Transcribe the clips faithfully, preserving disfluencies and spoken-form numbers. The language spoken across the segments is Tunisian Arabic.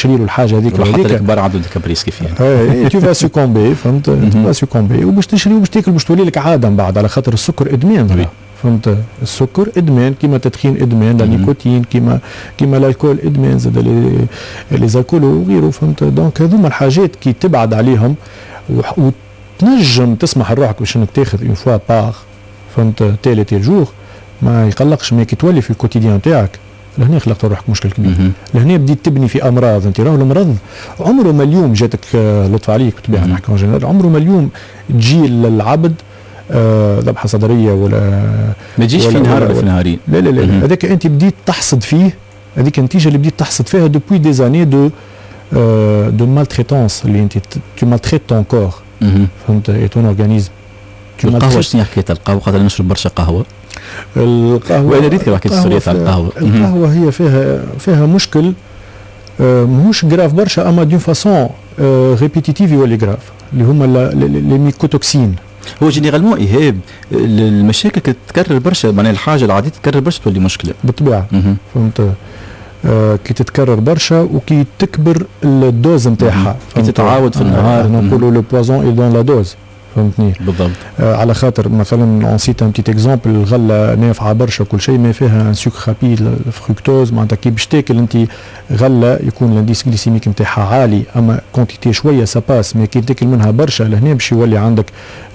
تشري له الحاجة هذيك. حتى الكبار عندهم des caprices كيف يعني. tu vas succomber، فهمت، tu vas succomber وباش تشري وباش تاكل، باش تولي لك عادة من بعد، على خاطر السكر ادمان، فهمت؟ السكر ادمان كيما التدخين ادمان، la nicotine، كيما كيما l'alcool ادمان زاد، les les alcools وغيره، فهمت؟ donc هذوما الحاجات كي تبعد عليهم وتنجم تسمح لروحك باش انك تاخذ une fois par، فهمت، tel et tel jour ما يقلقش، mais كي تولي في ال quotidien تاعك لهنا خلقت روحك مشكل كبير. لهنا بديت تبني في امراض. انت راهو المرض عمره ما اليوم جاتك، آه، لطف عليك بالطبيعة نحكي en général، عمره ما اليوم تجي للعبد آه، ذبحه صدريه ولا ما تجيش في نهار ولا في نهارين. لا لا لا، هذاك انت بديت تحصد فيه، هذيك النتيجة اللي بديت تحصد فيها depuis des années de de maltraitance اللي انت tu maltraites ton corps، فهمت، et ton organisme. القهوه، شنو حكاية القهوه؟ خاطر نشرب برشا قهوه. القهوه، وانا ريت حكيت السورية تاع القهوه. القهوة هي فيها فيها مشكل آه، ماهوش grave برشا، اما d'une façon répétitive يولي grave، اللي هما les mycotoxines. هو généralement ايهاب المشاكل تتكرر برشا، معناها الحاجة العادية تتكرر برشا تولي مشكله. بالطبيعه، فهمت، آه كي تتكرر برشا وكي تكبر ال dose نتاعها. كي تتعاود في النهار. نقولوا le poison est dans la dose، فهمتني؟ بالضبط. آه على خاطر مثلا on cite un petit exemple، الغلة نافعة برشا كل شيء، ما فيها un sucre rapide، ال fructose، معناتها كي باش تاكل انت غله يكون l'indice glycémique نتاعها عالي، اما quantité شوية ça passe، mais كي تاكل منها برشا لهنا باش يولي عندك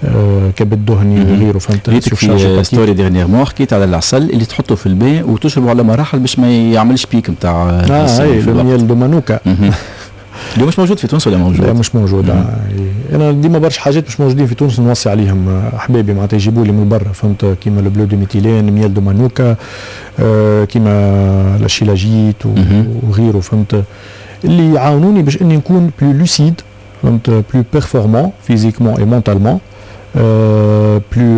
آه كبد دهني وغيره، فهمت؟ ريتك في story dernièrement حكيت على العسل اللي تحطه في الماء وتشربه على مراحل باش ما يعملش pic نتاع اه اي، le miel de manuka. اللي مش موجود في تونس ولا موجود؟ لا، مش موجود. آه. انا ديما برشا حاجات مش موجودين في تونس نوصي عليهم احبابي، معناتها يجيبوا لي من برا، فهمت؟ كيما le bleu de méthylène، miel de manuka، آه كيما la shilajit وغيره، فهمت؟ اللي يعاونوني باش اني نكون plus lucide، فهمت، plus performant physiquement et mentalement، plus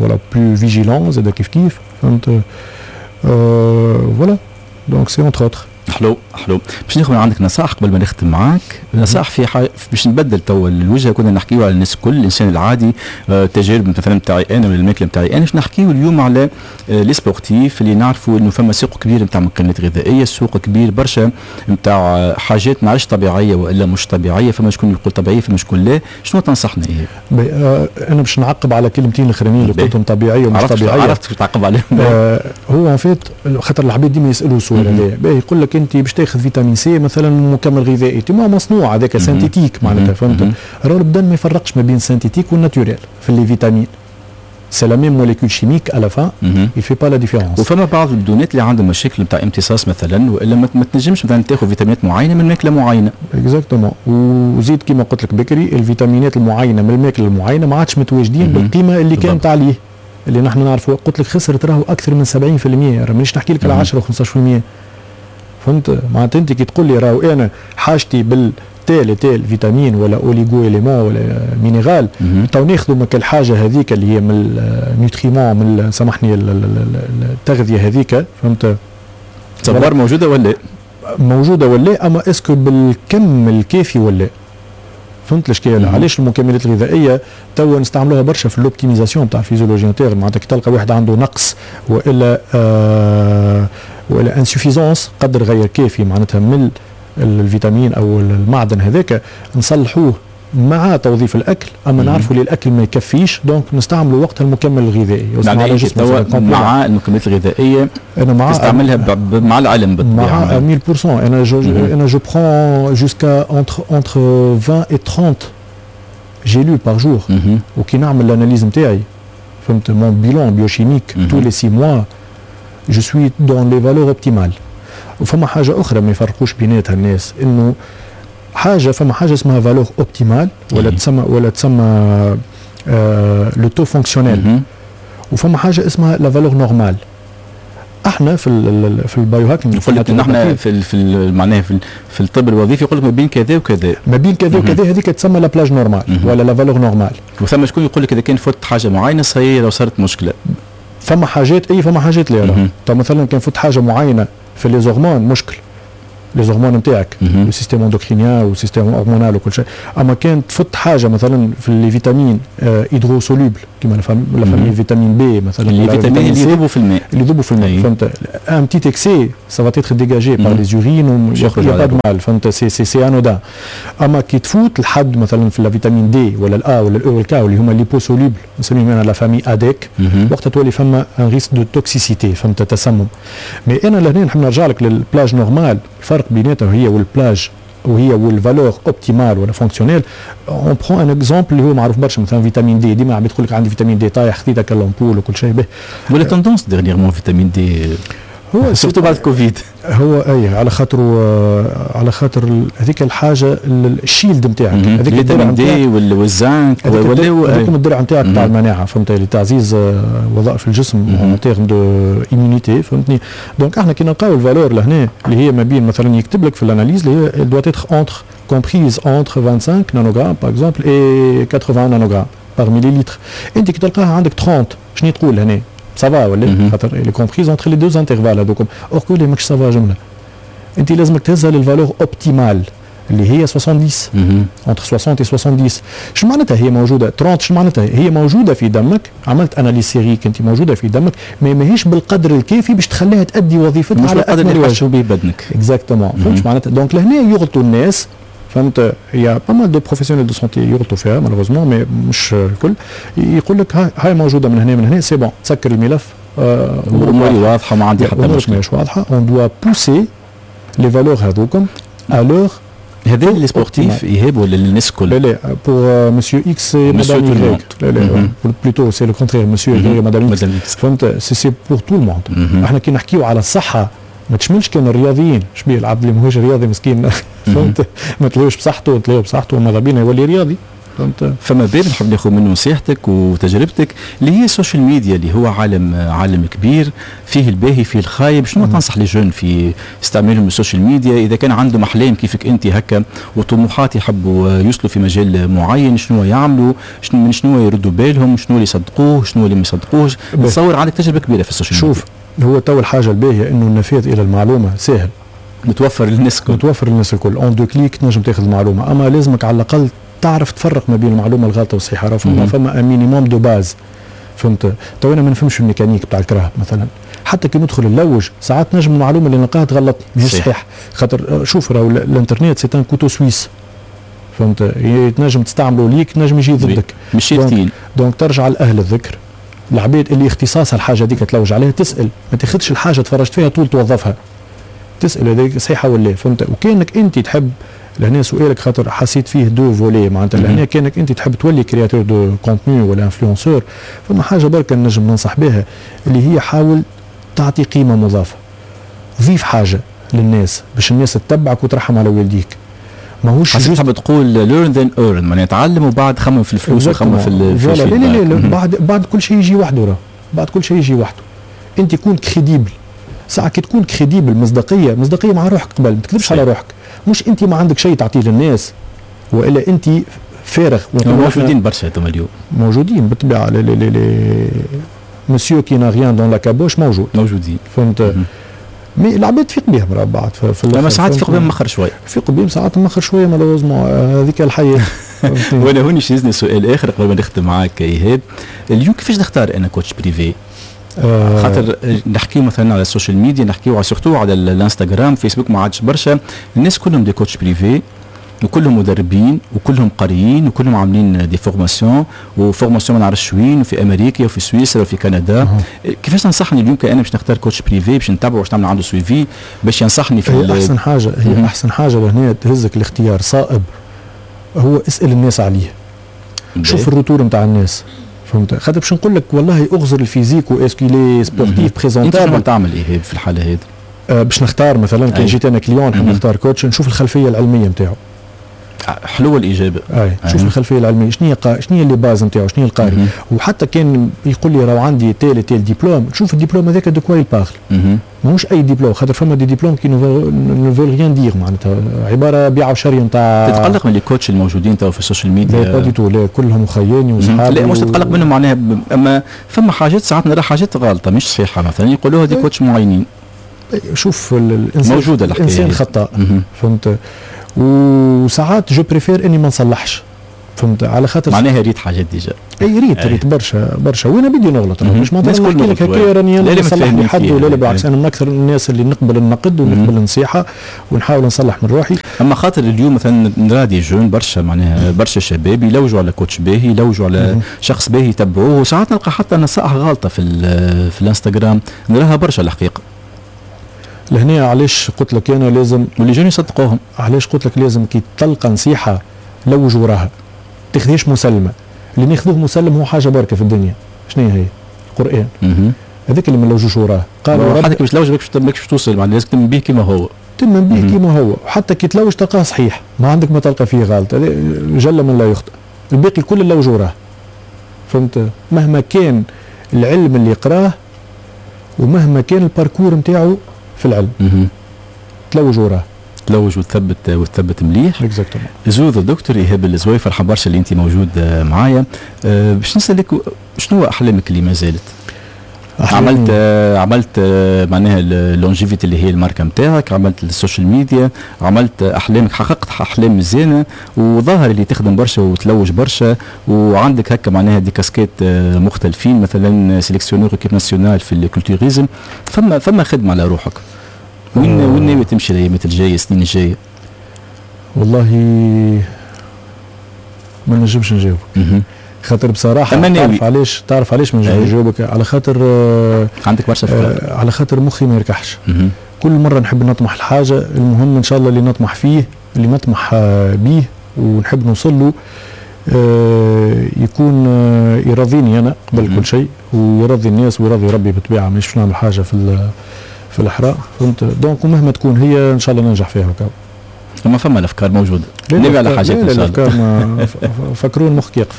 voilà، plus vigilant زاد كيف كيف، فهمت؟ voilà، donc c'est entre autres. حلو حلو، باش ناخذ من عندك نصائح قبل ما نختم معاك، نصائح في حاجة باش نبدل تو الوجهه. كنا نحكيو على الناس الكل، الانسان العادي، آه، تجارب مثلا نتاعي انا ولا الماكلة نتاعي انا. باش نحكيو اليوم على آه، les sportifs اللي نعرفوا انه فما سوق كبير نتاع مكملات غذائيه، سوق كبير برشا نتاع حاجات ما عادش طبيعية والا مش طبيعيه، فما شكون يقول طبيعيه، فما شكون لا. شنو تنصحنا ايه؟ آه انا باش نعقب على كلمتين الاخرانيين اللي قلتهم، طبيعية ومش طبيعيه. عرفت تعقب عليهم. آه هو en fait خاطر العباد ديما يسالوا سؤال هذا، يقول لك انت باش تاخذ vitamine C مثلا مكمل غذائي ما مصنوع، هذاك synthétique معناتها، فهمت؟ راهو البدن ما يفرقش ما بين synthétique وال naturel في les vitamines، c'est la même molécule chimique، à la fin il fait pas la différence. وفما بعض البدونات اللي عندهم مشاكل نتاع امتصاص مثلا، والا ما تنجمش مثلا تاخذ فيتامينات معينة من ماكله معينه. exactement، وزيد كما قلت لك بكري، الفيتامينات المعينة من الماكلة المعينة ما عادش متواجدين بالقيمة اللي كانت عليه اللي نحن نعرفوا. قلت لك خسرت راهو اكثر من سبعين في المية، راه مانيش نحكي لك على عشرة و خمسطاش في المية، فهمت؟ معناتها انت كي تقول لي راهو انا حاجتي بال tel tel vitamine ولا oligo-élément ولا minéral، تو ناخذوا من الحاجة هذيك اللي هي من ال nutriments، من سامحني التغذية هذيك، فهمت؟ تصور موجودة ولا موجودة ولا، اما est-ce que بالكم الكافي ولا، فهمت الاشكال؟ علاش المكملات الغذائية توا نستعملوها برشا في l'optimisation تاع ال physiologie interne؟ معناتها كي تلقى واحد عنده نقص والا آه والا insuffisance، قدر غير كافي معناتها من الفيتامين او المعدن هذاك، نصلحوه مع توظيف الاكل، اما نعرفوا اللي الاكل ما يكفيش، donc نستعملوا وقتها المكمل الغذائي. يعني مع المكملات الغذائية انا مع تستعملها مع العلم. بالطبيعه، مع مية في المية. انا je انا je prends jusqu'à entre entre vingt et trente gélules par jour، وكي نعمل l'analyse نتاعي، فهمت، mon bilan biochimique tous les six mois، je suis dans les valeurs optimales. وفما حاجة اخرى ما يفرقوش بيناتها الناس، انه حاجه فما حاجة اسمها valeur optimale ولا تسمى ولا تسمى le taux fonctionnel، وفما حاجة اسمها la valeur normale. احنا في ال في ال biohacking يقول لك نحن في في معناها في, في الطب الوظيفي يقول لك ما بين كذا وكذا. ما بين كذا وكذا، هذيك تسمى la plage normale ولا la valeur normale. وثم شكون يقول لك اذا كان فوت حاجة معينة صحيح لو صارت مشكله. فما حاجات اي، فما حاجات لا. مثلا كان فوت حاجة معينة في les hormones مشكل. les hormones نتاعك، ال système endocrinien وال système hormonal وكل شيء. اما كان تفوت حاجة مثلا في les vitamines hydrosolubles كيما la famille vitamine B مثلا، les vitamines اللي يذوبوا في الماء. اللي يذوبوا في الماء، فهمت، un petit excès ça va être dégagé par les urines، y a pas de mal، فهمت، c'est c'est c'est anodin. اما كي تفوت الحد مثلا في la vitamine D ولا ال A ولا ال E وال K اللي هما liposolubles، نسميهم انا la famille A D E K، وقتها تولي فما un risque de toxicité، فهمت، تسمم. mais انا لهنا نحب نرجع لك لل plage normale. الفرق بيناتها هي وال plage وهي وال valeur optimale ولا fonctionnelle. on prend un exemple اللي هو معروف برشا، مثلا vitamine D، ديما عم يقول لك عندي vitamine D طايح، خذيتك l'ampoule وكل شيء به. ولا tendance dernièrement vitamine D هو surtout بعد الكوفيد. هو اي، على خاطر على خاطر هذيك الحاجة ال shield نتاعك. هذيك vitamine D والزنك. ولا هذيك الدرع نتاعك نتاع المناعه، فهمت، لتعزيز وظائف الجسم en termes de immunité، فهمتني. donc احنا كي نلقاو ال valeur لهنا اللي هي ما بين مثلا يكتب لك في l'analyse اللي هي doit être entre comprise entre vingt-cinq nanogrammes par exemple et quatre-vingts nanogrammes par millilitre، انت كي تلقاها عندك ثلاثين شنو تقول هنا؟ ça va ولا؟ خاطر elle est comprise entre les deux intervalles هذوكم. or que ماكش ça va جمله، انت لازمك تهزها لل valeur optimale اللي هي soixante-dix، entre soixante et soixante-dix. شو معناتها هي موجودة ثلاثين؟ شو معناتها هي موجودة في دمك؟ عملت analyse sérique، انت موجودة في دمك mais ماهيش بالقدر الكافي باش تخليها تؤدي وظيفتها. مش على بالقدر اللي يحشوا به بدنك. exactement، فهمت معناتها. donc لهنا يغلطوا الناس، فهمت، il y a pas mal de professionnels de santé يغلطوا فيها malheureusement، mais مش الكل. يقول لك هاي موجودة من هنا من هنا، c'est bon، تسكر الملف. اموري واضحه، ما عندي حتى مشكله. مش واضحه، on doit pousser les valeurs هذوكم à leur هذا les sportifs ايهاب ولا الناس الكل؟ لا لا، pour monsieur X، madame Y، لا لا، plutôt c'est le contraire، monsieur Y، madame X، فهمت، c'est c'est pour tout le monde. احنا كي نحكيو على الصحة ما تشملش كان الرياضيين. شبيه العبد اللي ماهوش رياضي مسكين، فهمت، ما تلاقيوش بصحته، تلاقيه بصحته وماذا بينا يولي رياضي، فهمت. فما باب نحب ناخذ منه نصيحتك وتجربتك اللي هي ال social media، اللي هو عالم عالم كبير، فيه الباهي فيه الخايب. شنو تنصح les jeunes في استعمالهم ال social media؟ اذا كان عندهم احلام كيفك انت هكا وطموحات يحبوا يوصلوا في مجال معين، شنو يعملوا؟ شنو من شنو يردوا بالهم؟ شنو اللي يصدقوه؟ شنو اللي ما يصدقوهش؟ نتصور عندك تجربه كبيرة في ال social media. شوف، هو تو الحاجة الباهيه انه النفاذ الى المعلومة سهل. متوفر للناس الكل. متوفر للناس الكل، en deux clics تنجم تاخذ المعلومه. اما لازمك على الاقل تعرف تفرق ما بين المعلومة الغلطة والصحيحه. راه فما فما un minimum de base، فهمت. تو انا ما نفهمش الميكانيك بتاع الكراهب مثلا، حتى كي ندخل نلوج ساعات نجم المعلومة اللي نلقاها تغلطني، ماهيش صحيح. خاطر شوف، راهو الانترنت c'est un couteau suisse، فهمت، تنجم تستعمله ليك، تنجم يجي ضدك. مش donc, donc ترجع لاهل الذكر، العباد اللي اختصاصها الحاجة ديك تلوج عليها، تسال، ما تاخذش الحاجة تفرجت فيها طول توظفها، تسال هذيك صحيحه ولا، فهمت. وكانك انت تحب لهنا سؤالك خاطر حسيت فيه deux volets، معناتها لهنا كانك انت تحب تولي créateur de contenu ولا influenceur، فما حاجة بركة نجم ننصح بها اللي هي حاول تعطي قيمة مضافه، ضيف حاجة للناس باش الناس تتبعك وترحم على والديك. ماهوش juste تحب تقول learn then earn، معناها تعلم وبعد خمم في الفلوس وخمم في ال لا لا لا، بعد بعد كل شيء يجي وحده، راه بعد كل شيء يجي وحده. انت كون crédible ساعة، كي تكون crédible، مصداقية، مصداقية مع روحك قبل، ما تكذبش على روحك. مش انت ما عندك شيء تعطيه للناس والا انت فارغ. موجودين برشا هذوما اليوم. موجودين بالطبيعه، les les les monsieur qui n'a rien dans la caboche موجود. موجودين. فهمت، mais العباد تفيق بهم راه بعد. في, في اما ساعات تفيق بهم مخر شوي. تفيق بهم ساعات مخر شوية malheureusement، هذيك الحياه. وانا هوني يهزني سؤال اخر قبل ما نختم معاك ايهاب. اليوم كيفاش نختار انا coach privé؟ آه خاطر نحكيو مثلا على ال social media، نحكيو surtout على الانستغرام، فيسبوك ما عادش برشا، الناس كلهم des coachs privés وكلهم مدربين وكلهم قاريين وكلهم عاملين des formations و formation ما نعرفش وين، وفي امريكا وفي سويسرا وفي كندا. أه. كيفاش تنصحني اليوم كأنا باش نختار coach privé باش نتبعه، باش نعمل عنده suivi، باش ينصحني في هي احسن حاجه، هي مم. احسن حاجة لهنا تهزك الاختيار صائب هو اسال الناس عليه، شوف ال retour نتاع الناس، فهمت. خاطر باش نقول لك والله اغزر ال physique و est-ce qu'il est sportif présentable، انت تعمل ايه في الحالة هذه؟ أه باش نختار مثلا كان جيت انا client نحب نختار coach، نشوف الخلفية العلمية نتاعو. حلوة الاجابه. اي، شوف الخلفية العلميه، شنو هي، شنو هي les bases نتاعو، شنو هي القاري. وحتى كان يقول لي راهو عندي tel tel diplôme، شوف الدبلوم هذاك de quoi il parle، ماهوش اي ديبلوم، خاطر فما des diplômes qui ne veulent rien dire، معناتها عبارة بيع وشري نتاع. تتقلق من les coachs الموجودين تو في ال social media؟ لا pas du tout، لا، كلهم خياني وصحابي. لا مش تتقلق منهم معناها، اما فما حاجات ساعات نرى حاجات غلطه مش صحيحه، مثلا يقولوها des coachs معينين. شوف الانسان موجودة الحكاية، الانسان خطاء، فهمت؟ وساعات je préfère اني ما نصلحش، فهمت؟ على خاطر معناها ريت حاجات déjà. اي ريت ريت برشا برشا، وانا بدي نغلط، مش معناتها نحكي لك هكا راني انا نصلح لي حد ولا لا، بالعكس انا من اكثر الناس اللي نقبل النقد ونقبل النصيحة ونحاول نصلح من روحي. اما خاطر اليوم مثلا نرى des jeunes برشا، معناها برشا شباب يلوجوا على coach باهي، يلوجوا على شخص باهي يتبعوه، وساعات نلقى حتى نصائح غالطه في في الانستغرام، نراها برشا الحقيقة. لهنا علاش قلت لك انا لازم و les jeunes يصدقوهم. علاش قلت لك لازم كي تلقى نصيحة لوج وراها، تاخذيش مسلمة. اللي ناخذوه مسلم هو حاجة بركة في الدنيا، شنو هي؟ القران. هذاك اللي ما نلوجوش وراه. قالوا حتى باش تلوج ماكش باش توصل، معناها لازم تمن به كما هو. تمن به كما هو، وحتى كي تلوج تلقاه صحيح، ما عندك ما تلقى فيه غلط، جل من لا يخطئ. الباقي كل اللوج وراه، فهمت؟ مهما كان العلم اللي يقراه ومهما كان ال parcours نتاعو في العلم، تلوج وراه. تلوج وتثبت وتثبت مليح. exactement. زوز الدكتور ايهاب الزوي، فرحان برشا اللي انت موجود معايا. أه باش نسالك شنو احلامك اللي ما زالت؟ عملت عملت معناها Longevity اللي هي الماركة نتاعك، عملت ال social media، عملت احلامك، حققت احلام مزيانه، وظاهر اللي تخدم برشا وتلوج برشا، وعندك هكا معناها des casquettes مختلفين، مثلا sélectionneur équipe nationale في ال culturisme. فما فما خدمة على روحك. وين وين ناوي تمشي الايامات الجاية، السنين الجاية؟ والله ما نجمش نجاوبك، خاطر بصراحة تعرف علاش؟ تعرف علاش ما نجمش نجاوبك؟ على خاطر آه عندك برشا افكار، آه على خاطر مخي ما يركحش. كل مرة نحب نطمح لحاجة، المهم ان شاء الله اللي نطمح فيه، اللي نطمح آه بيه ونحب نوصل له، آه يكون آه يرضيني انا قبل كل شيء، ويرضي الناس ويرضي ربي بالطبيعة. مانيش باش نعمل حاجة في في الحرام، فهمت؟ donc ومهما تكون هي ان شاء الله ننجح فيها وكا. اما فما الافكار موجودة، نبي على حاجات ان شاء الله. الافكار ما فكرون مخك يقف.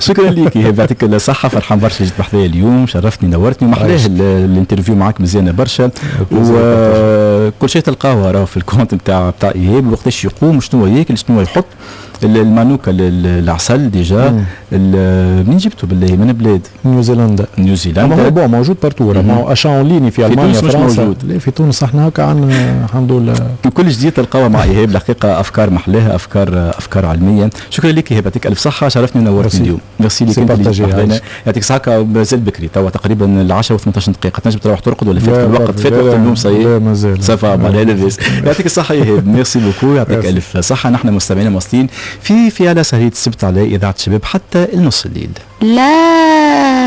شكرا لك ايهاب، يعطيك الصحة، فرحان برشا جيت بحذايا اليوم، شرفتني نورتني، ومحلاه ال interview معاك مزيانه برشا، وكل شيء تلقاوه راهو في ال compte نتاع نتاع ايهاب، وقتاش يقوم، شنو ياكل، شنو يحط، المانوكا العسل déjà منين جبته بالله؟ من بلاد؟ نيوزيلندا. نيوزيلندا. هو bon موجود partout، ما هو achat en ligne في المانيا، في تونس مش موجود. لا في تونس احنا هكا عندنا الحمد لله. كل جديد تلقاوه مع ايهاب، الحقيقة افكار محلاها، افكار افكار علمية. شكرا لك ايهاب، يعطيك الف صحة، شرفتني ونورتني اليوم. ميرسي لك انت اللي يعطيك الصحة. مازال بكري توا تقريبا العشرة وثمنطاش دقيقة، تنجم تروح ترقد ولا فات الوقت؟ فات وقت النوم صحيح؟ لا مازال ça va لاباس. يعطيك الصحة ايهاب، merci beaucoup، يعطيك الف صحة. نحن مستمعينا مواصلين في في على سهرية السبت على إذاعة الشباب حتى النص الليل. لا.